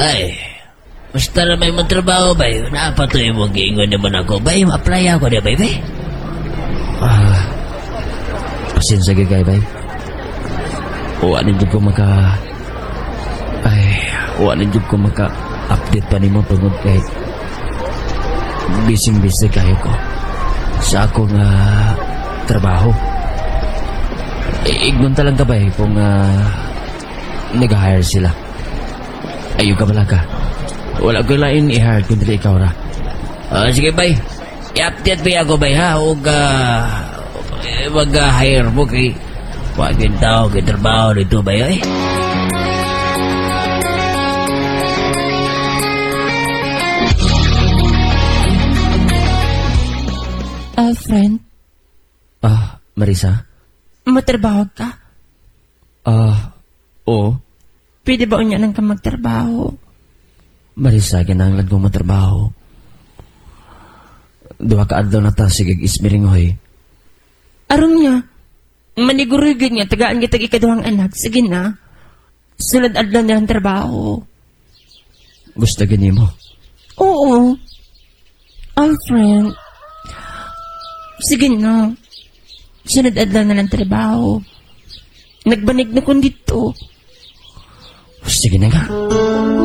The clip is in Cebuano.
Ay, basta na may mong trabaho, bay. Napatuloy mo giingon naman ako, bay. Ma-apply ako niya, bay, bay. Pasensya gyud kay, bay. Wa na jud ko maka Ay, wa na jud ko maka update pa nimo tungod kay busy busy kayo ko sa akong trabaho. Ignon ta lang ka, bay, kung nag-hire sila. Ayaw ka bala ka. Wala ko lain i-hire kundi ikaw ra. Sige, bay. I-update ba ako, bay, ha? O mag-hire mo kay wagin tao kay trabaho dito, bay, ay. Friend, Marisa? Matrabaho ka? Oo. Pwede ba unya nang ka magtrabaho? Marisa, kinahanglan kong matrabaho. Duha ka adlaw na ta, sige, ismiringoy. Aron niya, maniguro gyud nga tagaan kita ikaduhang anak. Sige na. Sulod adlaw na ang trabaho. Gusto gani mo? Oo. Alfred. Sige na. Sunod adlaw na lang trabaho. Nagbanig na kun dito. Sige na nga.